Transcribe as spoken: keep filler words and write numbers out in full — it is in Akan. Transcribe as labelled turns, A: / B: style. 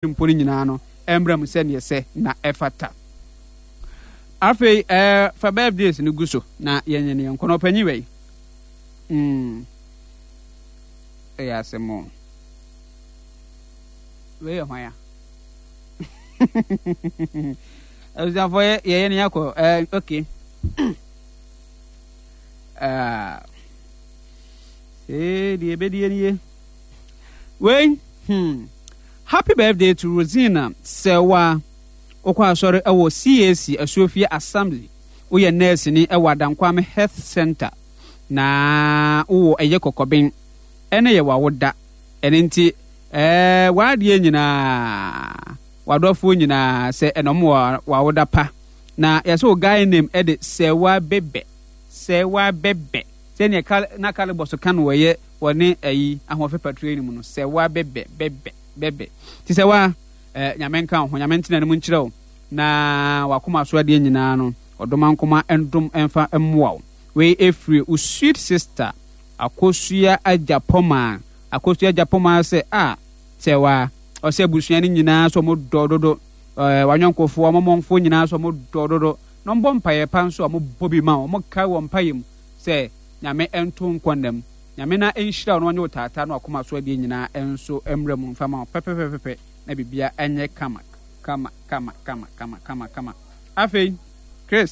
A: Mpo no nyinaa no mmra mu sɛdeɛ ɛsɛ na ɛfata. Afei ɛɛ fa birthdays no gu so na yɛnyɛ ne yɛnkɔ na ɔpanyin wei. Mm. Ɛyɛ asɛm o. Wei yɛ hwan a? Abusuafoɔ yɛ yɛyɛ ne yɛakɔ ɛɛ okay. Ah. Ee deɛ ebedie nie. Wei hmm. Happy birthday to Rosina Serwaa. Wokɔ asɔre wɔ C A C Asuofie Assembly. Woyɛ nɛɛseni wɔ Adankwame Health Centre. Na wowɔ ɛyɛ kɔkɔben. Ɛne yɛ w'awoda. Ɛno nti ɛɛ w'adeɛ nyinaa, w'adɔfoɔ nyinaa sɛ ɛna ɔmo wɔ w'awoda pa. Na yɛsɛ wo guy name ɛde Serwaa Bɛbɛ. Serwaa Bɛbɛ. Sɛdeɛ Kal na Kalebɔso ka no wɔyɛ wɔne ayi ahoɔfɛ patrol no mu no sɛ wa bɛbɛ bɛbɛ bɛbɛ ti sɛ wa eh, Nyame nka wo ho. Nyame ntena ne mu nkyerɛ wo na wakoma so adeɛ nyinaa no ɔdoma nkoma ndom mfa mmoa wo. Wei ɛfiri wo sweet sister Akosua Agyapɔmaa. Akosua Agyapɔmaa sɛ a sɛ wa ɔsɛ abusua no nyinaa sɛ ɔmo dɔ dodo eh, wanyɔnkofoɔ ɔmɔmɔnfoɔ nyinaa sɛ ɔmo dɔ dodo na ɔmbɔ mpaeɛ pa nso a ɔmo bɔ bi ma wo, ɔmo kae wɔ mpaeɛ mu sɛ Nyame nto nkɔ nna mu. Nyame na nhyira wo na ɔnye wo taataa na wakoma so adeɛ nyinaa nso mmra mu mfa ma wo pɛpɛpɛpɛpɛ na bibia nyɛ kama kama kama kama kama kama kama. Afei